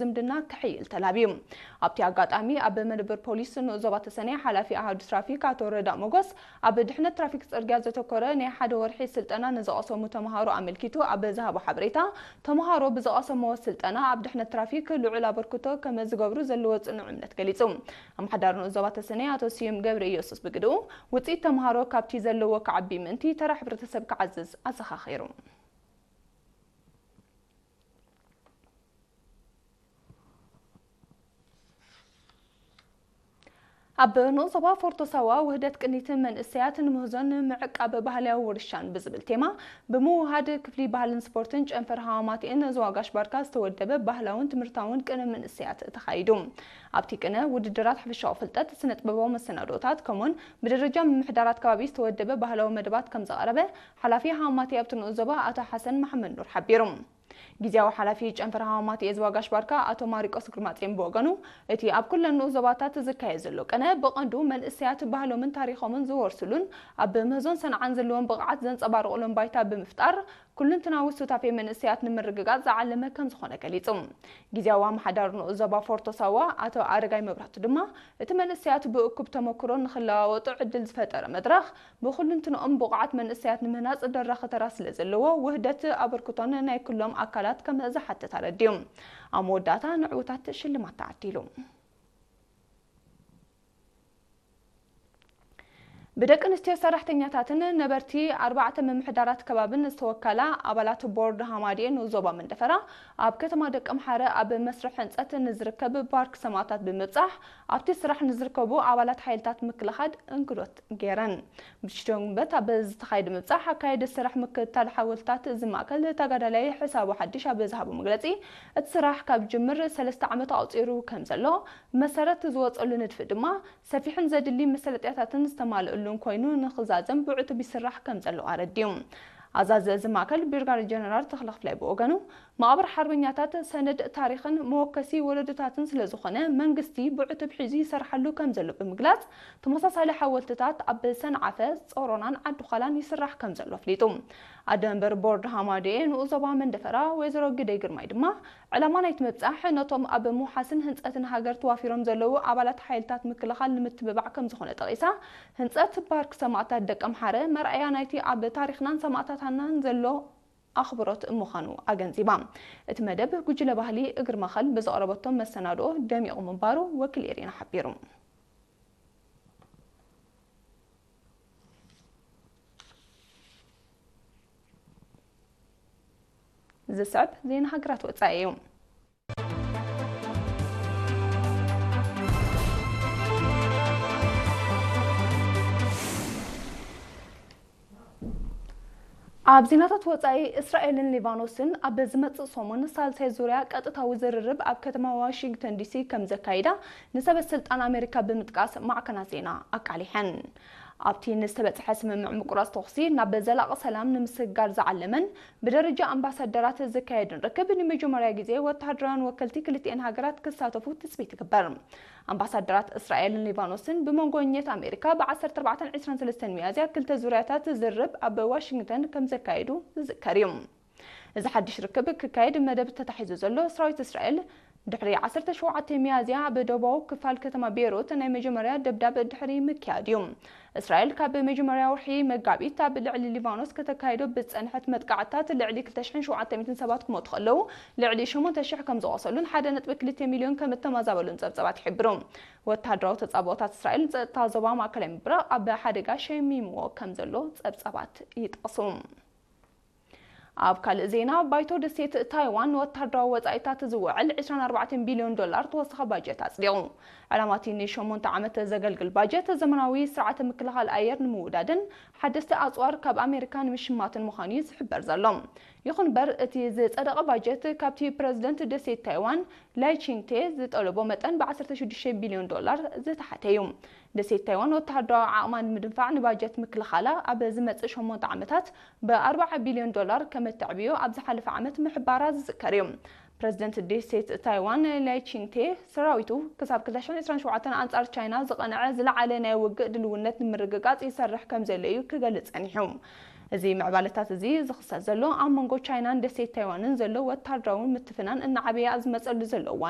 ዝምድና ክሕይል ተላብዩ። ኣብቲ ኣጋጣሚ ኣብ መደበር ፖሊስ ንኡስ ዞባ ተሰነይ ሓላፊ ኣሃዱ ትራፊክ ኣቶ ረዳእ ሞጎስ ኣብ ድሕነት ትራፊክ ጽርግያ ዘተኮረ ናይ ሓደ ወርሒ ስልጠና ንዝቐሰሙ ተምሃሮ ኣመልኪቱ ኣብ ዝሃቦ ሓበሬታ፣ ተምሃሮ ብዝቐሰምዎ ስልጠና ኣብ ድሕነት ትራፊክ ልዑል ኣበርክቶ ከም ዝገብሩ ዘለዎ ጽኑዕ እምነት ገሊጹ። ኣምሓዳር ንኡስ ዞባ ተሰነይ ኣቶ ስዩም ገብረ ኢየሱስ ብግድኡ፣ ውጽኢት ተምሃሮ ካብቲ ዘለዎ ክዓቢ ምእንቲ ተራ ሕብረተሰብ ክዓዝዝ ኣዘኻኺሩ። ኣብ ንኡስ ዞባ ፎርቶ ሳዋ ውህደት ቅኒት መንእሰያት ንምህዞን ምዕቃብ ባህላዊ ውርሻን ብዝብል ቴማ ብምውሃድ ክፍሊ ባህልን ስፖርትን ጨንፈር ሃዋማትኤን ዞባ ጋሽ ባርካ ዝተወደበ ባህላውን ትምህርታውን ቅነ መንእሰያት ተኻይዱ። ኣብቲ ቅነ ውድድራት፣ ሓፈሻዊ ፍልጠት፣ ስነ ጥበባዊ መሰናዶታት ከምኡን ብደረጃ ምምሕዳራት ከባቢ ዝተወደበ ባህላዊ መደባት ከም ዘቐረበ ሓላፊ ሃዋማትኤ ኣብቲ ንኡስ ዞባ ኣቶ ሓሰን መሓመድ ኑር ሓቢሩ። ግዝያዊ ሓላፊ ጨንፈር ሃዋማትኤ ዞባ ጋሽ ባርካ ኣቶ ማሪቆስ ግርማጽዮን ብወገኑ፣ እቲ ኣብ ኩለን ንኡስ ዞባታት ዝካየድ ዘሎ ቅነ ብቐንዱ መንእሰያት ባህሎምን ታሪኾምን ዝወርሱሉን ኣብ ምህዞን ሰንዓን ዘለዎም ብቕዓት ዘንጸባርቑሉን ባይታ ብምፍጣር፣ ኩሉንትናዊ ሱታፌ መንእሰያት ንምርግጋጽ ዝዓለመ ከም ዝኾነ ገሊጹ። ግዝያዊ ኣመሓዳሪ ንኡስ ዞባ ፎርቶ ሳዋ ኣቶ ኣረጋይ መብራህቱ ድማ፣ እቲ መንእሰያት ብእኩብ ተመክሮ ንኽለዋወጡ ዕድል ዝፈጠረ መድረኽ፣ ብኹሉንትንኦም ብቑዓት መንእሰያት ንምህናጽ ደራኺ ተራ ስለ ዘለዎ፣ ውህደት ኣበርክቶን ናይ ኩሎም ኣካላት ከም ዝሓትት ኣረዲኡ። ኣብ መወዳእታ ንዕውታት ሽልማት ተዓዲሉ። ብደቂ ኣንስትዮ ሰራሕተኛታትን ነበርቲ ኣርባዕተ ምምሕዳራት ከባብን ዝተወከላ ኣባላት ቦርድ ሃማድኤ ንኡስ ዞባ መንደፈራ ኣብ ከተማ ደቀምሓረ ኣብ መስርሕ ህንጸት ንዝርከብ ፓርክ ሰማእታት ብምብጻሕ ኣብቲ ስራሕ ንዝርከቡ ኣባላት ሓይልታት ምክልኻል እንግዶት ገይረን። ብሽደንበት ኣብ ዝተኻየደ ምብጻሕ ኣካየዲ ስራሕ ምክትታል ሓወልትታት እዚ ማእከል ተጋዳላይ ሕሳቡ ሓድሽ ኣብ ዝሃቦ መግለጺ፣ እቲ ስራሕ ካብ ጅምር ሰለስተ ዓመት ኣቑጺሩ ከም ዘሎ፣ መሰረት ዝወጸሉ ንድፊ ድማ ሰፊሕን ዘድሊ መሰለጥያታትን ዝተማልእሉን ኮይኑ ንኽዛዘም ብዕቱብ ይስራሕ ከም ዘሎ ኣረዲኡ። ኣዛዚ እዚ ማእከል ብርጋዴር ጀነራል ተኽለ ክፍላይ ብወገኑ፣ መቓብር ሓርበኛታት ሰነድ ታሪኽን መወከሲ ወለዶታትን ስለ ዝኾነ፣ መንግስቲ ብዕቱብ ሒዙ ይሰርሓሉ ከም ዘሎ ብምግላጽ፣ ተመሳሳሊ ሓወልትታት ኣብ ሰንዓፈ፣ ጾሮናን ዓዲ ዃላን ይስራሕ ከም ዘሎ ኣፍሊጡ። ኣደ መንበር ቦርድ ሃማድኤ ንኡስ ዞባ መንደፈራ ወይዘሮ ግደይ ግርማይ ድማ፣ ዕላማ ናይቲ ምብጻሕ ነቶም ኣብ ምውሓስን ህንጸትን ሃገር ተዋፊሮም ዘለዉ ኣባላት ሓይልታት ምክልኻል ንምትብባዕ ከም ዝኾነ ጠቒሳ፣ ህንጸት ፓርክ ሰማእታት ደቀምሓረ መርኣያ ናይቲ ኣብ ታሪኽናን ሰማእታትናን ዘሎ ኣኽብሮት ምዃኑ ኣገንዚባ። እቲ መደብ ጉጅለ ባህሊ እግሪ ማእከል ብዘቕረበቶ መሰናድኦ ደሚቑ ምንባሩ ወኪል ኤሪና ሓቢሩ። ዝስዕብ ዜና ሃገራት ወጻኢ እዩ። ኣብ ዜናታት ወጻኢ፣ እስራኤልን ሊባኖስን ኣብ ዝመጽእ ሰሙን ሳልሳይ ዙርያ ቀጥታዊ ዝርርብ ኣብ ከተማ ዋሽንግተን ዲሲ ከም ዘካይዳ ንሰበ ስልጣን ኣሜሪካ ብምጥቃስ ማዕከናት ዜና ኣቃሊሐን። ኣብቲ ንዝተበጽሐ ስምምዕ ምቁራጽ ተኹሲ ናብ ዘላቒ ሰላም ንምስግጋር ዝዓለመን ብደረጃ ኣምባሳደራት ዝካየድን ርክብ ንመጀመርያ ግዜ ወተሃደራውያን ወከልቲ ክልቲኤን ሃገራት ክሳተፉ ትጽቢት ይግበር። ኣምባሳደራት እስራኤልን ሊባኖስን ብመንጎ ኘት ኣሜሪካ ብ ዓሰርተ ኣርባዕተን ዕስራን ሰለስተን ሚያዝያ ክልተ ዙርያታት ዝርርብ ኣብ ዋሽንግተን ከም ዘካየዱ ዝዝከር እዩ። እዚ ሓድሽ ርክብ ክካየድ መደብ ተታሒዙ ዘሎ ሰራዊት እስራኤል ድሕሪ ዓሰርተ ሸውዓተ ሚያዝያ ኣብ ደቡባዊ ክፋል ከተማ ቤይሩት ናይ መጀመርያ ደብዳብ ድሕሪ ምክያድ እዩ። እስራኤል ካብ መጀመርያ ወርሒ መጋቢት ኣብ ልዕሊ ሊባኖስ ከተካይዶ ብዝጸንሐት መጥቃዕትታት ልዕሊ ክልተ ሽሕን ሸውዓተ ሚእትን ሰባት ክሞቱ ከለዉ፣ ልዕሊ ሸሞንተ ሽሕ ከም ዝቖሰሉን ሓደ ነጥቢ ክልተ ሚልዮን ከም እተመዛበሉን ጸብጸባት ይሕብሩ። ወተሃደራዊ ተጻብኦታት እስራኤል ንጸጥታ ዞባ ማእከላይ ምብራቕ ኣብ ሓደጋ ሸሚምዎ ከም ዘሎ ጸብጸባት ይጠቕሱ። ኣብ ካልእ ዜና፣ ባይቶ ደሴት ታይዋን ንወተሃደራዊ ወጻኢታት ዝውዕል ዕስራን ኣርባዕተን ቢልዮን ዶላር ተወሳኺ ባጀት ኣጽዲቑ። ዕላማ እቲ ንሸሞንተ ዓመት ዘገልግል ባጀት፣ ዘመናዊ ስርዓተ ምክልኻል ኣየር ንምውዳድን ሓደስቲ ኣጽዋር ካብ ኣሜሪካ ንምሽማትን ምዃኑ እዩ ዝሕበር ዘሎ። ይኹን እምበር፣ እቲ ዝጸደቐ ባጀት ካብቲ ፕረዚደንት ደሴት ታይዋን ላይ ቺንግቴ ዝጠለቦ መጠን ብ ዓሰርተ ሽዱሽተ ቢልዮን ዶላር ዝተሓተ እዩ። ደሴት ታይዋን ወተሃደራዊ ዓቕማ ንምድንፋዕ ንባጀት ምክልኻላ ኣብ ዝመጽእ ሸሞንተ ዓመታት ብ ኣርባዓ ቢልዮን ዶላር ከም እተዕብዮ ኣብ ዝሓለፈ ዓመት ምሕባራ ዝዝከር እዩ። ፕረዚደንት ደሴት ታይዋን ላይ ቺንግቴ፣ ሰራዊቱ ክሳብ ክልተ ሽሕን ዕስራን ሸውዓተን ኣንጻር ቻይና ዝቐንዐ ዝለዓለ ናይ ውግእ ድልውነት ንምርግጋጽ ይሰርሕ ከም ዘሎ እዩ ክገልጽ ጸኒሑ። እዚ ምዕባለታት እዚ ዝኽሰት ዘሎ ኣብ መንጎ ቻይናን ደሴት ታይዋንን ዘሎ ወተሃደራዊ ምትፍናን እናዓበየ ኣብ ዝመጸሉ ዘሎ እዋን እዩ።